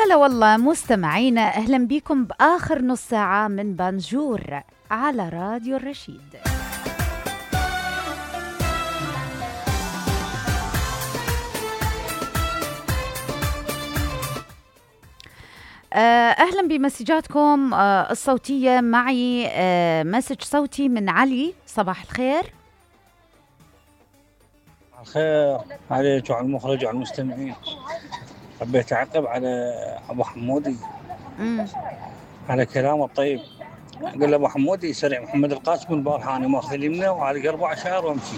هلا والله مستمعينا، أهلا بكم بآخر نص ساعة من بانجور على راديو الرشيد. أهلا بمسجاتكم الصوتية. معي مسج صوتي من علي. صباح الخير. الخير عليك وعلى المخرج وعلى المستمعين. حبيت أعقب على أبو حمودي على كلامه الطيب. قال أبو حمودي سريع محمد القاسم البارحة أنا ماخذ اليمنى وعلى 4 شهر وأمشي،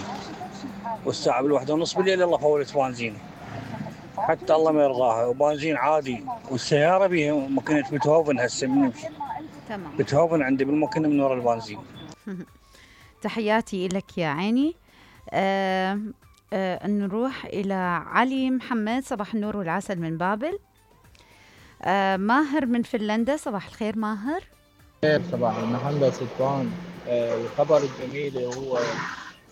والساعة 1:30 بالليل الله فولت بنزين، حتى الله ما يرضاها، وبنزين عادي، والسيارة بيها ماكينة بيتهوفن هسه من نمشي. تمام. بيتهوفن عندي بالماكينة من وراء البنزين. تحياتي لك يا عيني. نروح إلى علي محمد. صباح النور والعسل من بابل. ماهر من فنلندا. صباح الخير ماهر. صباح المحمد سلطان. الخبر الجميل هو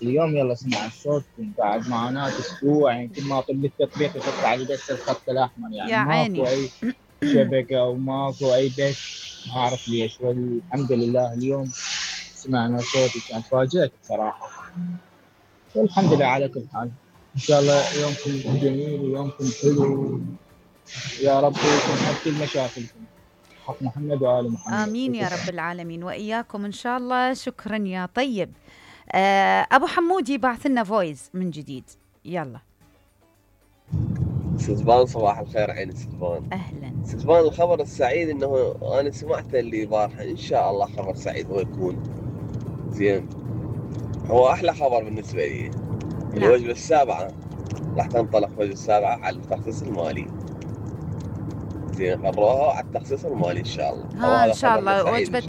اليوم يلا سمع الصوت بعد معاناة أسبوع، يعني كل ما طلب التطبيق يطلع علي بس الخط الأحمر، يعني ماكو أي شبكة وماكو أي بث، ما أعرف ليش. والحمد لله اليوم سمعنا صوتي، كان فاجأت بصراحة، والحمد لله على كل حال. إن شاء الله يومكم جميل ويومكم حلو، يا رب يكون حل كل مشاكلكم. حق محمد وآل محمد. آمين يا رب العالمين وإياكم إن شاء الله. شكرا يا طيب. أبو حمودي بعث لنا فويس من جديد. يلا سلطان. صباح الخير عيني سلطان. أهلا سلطان. الخبر السعيد إنه أنا سمعته اللي بارحة، إن شاء الله خبر سعيد هو يكون زين، هو أحلى خبر بالنسبة لي. الوجبة السابعة راح تنطلق، وجبة السابعة على التخصيص المالي. زين قرروها على التخصيص المالي إن شاء الله. إن شاء الله وجبة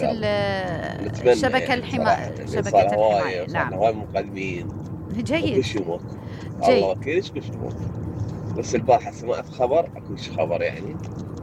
الشبكة الحماية، شبكة الحماية. نعم. هواي مقدمين. جيد. وكل يموت. الله وكيلش كل يموت. بس البارحة سمعت خبر أكو خبر يعني